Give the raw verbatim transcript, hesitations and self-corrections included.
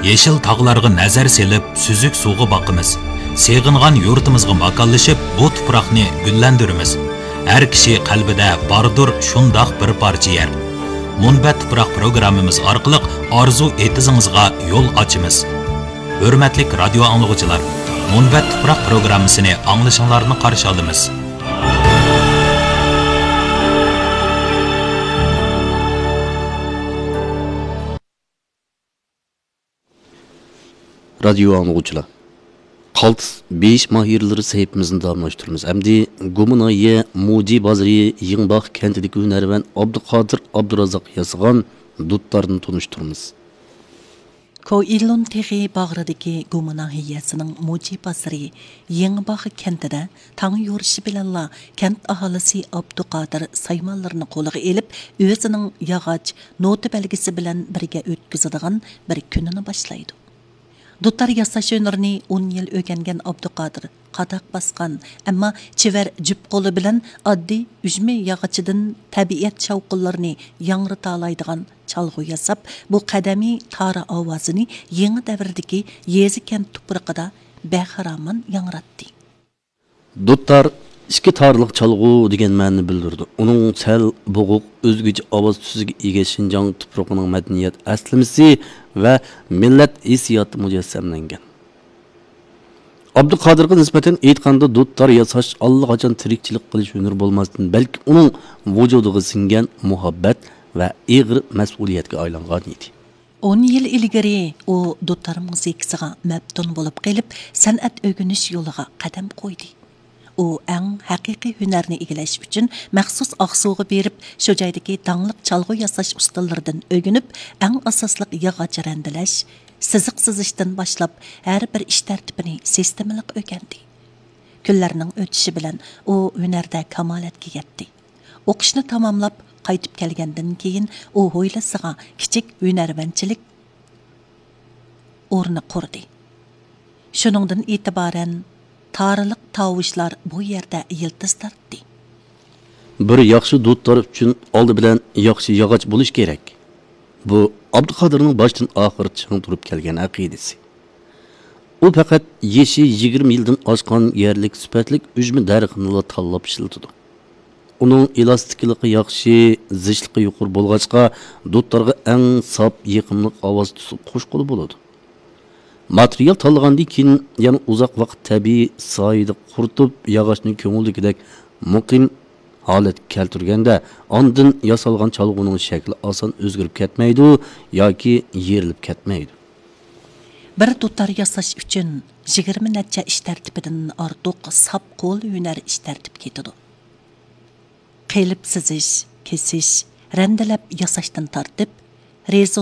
يېشىل تاغلارغا نەزەر سېلىپ، سۈزۈك سۇغا باقىمىز. سېغىنغان يۇرتىمىزغا ماكانلىشىپ، بۇ تۇپراقنى گۈللەندۈرىمىز. ھەر كىشى قەلبىدە باردۇر شۇنداق بىر پارچە يەر. مۇنبەت تۇپراق پروگراممىمىز ئارقىلىق ئارزۇ ئېتىزىڭىزغا يول ئاچىمىز. ھۆرمەتلىك رادىيو ئاڭلىغۇچىلار، مۇنبەت تۇپراق پروگراممىسىنى ئاڭلىشىڭلارنى قارشى ئالىمىز. رادىيو ئاڭلىغۇچىلار، قالتىس بېيىش ماھىرلىرى سەھىپىمىزنى داۋاملاشتۇرىمىز. ئەمدى گۇما ناھىيە موجى بازىرى يېڭىباغ كەنتىدىكى ھۈنەرۋەن ئابدۇقادىر ئابدۇرازاق ياسىغان دۇتارنى تونۇشتۇرىمىز. كوئىلون تېغى باغرىدىكى گۇما ناھىيەسىنىڭ موجى بازىرى يېڭىباغ كەنتىدە تاڭ يورۇشى بىلەنلا كەنت ئاھالىسى ئابدۇقادىر سايمانلىرىنى قولىغا ئېلىپ، ئۆزىنىڭ ياغاچ نوتا بەلگىسى بىلەن بىرگە ئۆتكۈزىدىغان بىر كۈنىنى باشلايدۇ. دۇتار ياساش ھۈنىرىنى ئون يىل ئۆگەنگەن ئابدۇقادىر قاداق باسقان، ئەمما چېۋەر جۈپ قولى بىلەن ئاددىي ئۈجمە ياغىچىدىن تەبىئەت شاۋقۇنلىرىنى ياڭرىتالايدىغان چالغۇ ياساپ، بۇ قەدىمىي تارا ئاۋازىنى يېڭى دەۋردىكى يېزا-كەنت تۇپرىقىدا بەخىرامان ياڭراتتى. دۇتار ئىككى تارلىق چالغۇ دېگەن مەنىنى بىلدۈرىدۇ. ئۇنىڭ سەل بوغۇق، ئۆزگىچە ئاۋاز تۈسىگە ئىگە شىنجاڭ تۇپرىقىنىڭ مەدەنىيەت ئەسلىمىسى ۋە مىللەت ھېسسىياتى مۇجەسسەملەنگەن. ئابدۇقادىرغا نىسبەتەن ئېيتقاندا، دۇتار ياساش ئاللىقاچان تىرىكچىلىك قىلىش ھۈنىرى بولماستىن، بەلكى ئۇنىڭ ۋۇجۇدىغا سىڭگەن مۇھەببەت ۋە ئېغىر مەسئۇلىيەتكە ئايلانغان ئىدى. ئون يىل ئىلگىرى ئۇ دۇتار مۇزىكىسىغا مەپتۇن بولۇپ قېلىپ، سەنئەت ئۆگىنىش يولىغا قەدەم قويدى. ئۇ ئەڭ ھەقىقىي ھۈنەرنى ئىگىلەش ئۈچۈن مەخسۇس ئاقسۇغا بېرىپ، شۇ جايدىكى داڭلىق چالغۇ ياساش ئۇستىلىرىدىن ئۆگىنىپ، ئەڭ ئاساسلىق ياغاچ رەندىلەش، سىزىق سىزىشتىن باشلاپ، ھەر بىر ئىش تەرتىپىنى سىستېمىلىق ئۆگەندى. كۈنلەرنىڭ ئۆتۈشى بىلەن ئۇ ھۈنەردە كامالەتكە يەتتى. ئوقۇشنى تاماملاپ، قايتىپ كەلگەندىن كېيىن، ئۇ ھويلىسىغا كىچىك ھۈنەرۋەنچىلىك ئورنى قۇردى. شۇنىڭدىن ئېتىبارەن، تارىلىق تاۋۇشلار بۇ يەردە يىلتىز تارتتى. بىر ياخشى دۇتار ئۈچۈن ئالدى بىلەن ياخشى ياغاچ بولۇش كېرەك. بۇ ئابدۇقادىرنىڭ باشتىن ئاخىر چىڭ تۇرۇپ كەلگەن ئەقىدىسى. ئۇ پەقەت يېشى يىگىرمە يىلدىن ئاشقان يەرلىك سۈپەتلىك ئۈجمە دەرىخىنىلا تاللاپ ئىشلىتىدۇ. ئۇنىڭ ئېلاستىكلىقى ياخشى، زىچلىقى يۇقىرى بولغاچقا، دۇتارغا ئەڭ ساپ، يېقىملىق ئاۋاز تۈسى قوشقىلى بولىدۇ. ماتېرىيال تاللىغاندىن كېيىن يەنە ئۇزاق ۋاقىت تەبىئىي سايىدا قۇرۇتۇپ، ياغاچنى كۆڭۈلدىكىدەك مۇقىم ھالەتكە كەلتۈرگەندە، ئاندىن ياسالغان چالغۇنىڭ شەكلى ئاسان ئۆزگىرىپ كەتمەيدۇ ياكى يېرىلىپ كەتمەيدۇ. بىر دۇتار ياساش ئۈچۈن يىگىرمە نەچچە ئىش تەرتىپىدىن ئارتۇق ساپ قول ھۈنەر ئىش تەرتىپى كېتىدۇ. قېلىپ سىزىش، كېسىش، رەندىلەپ ياساشتىن تارتىپ، رېزو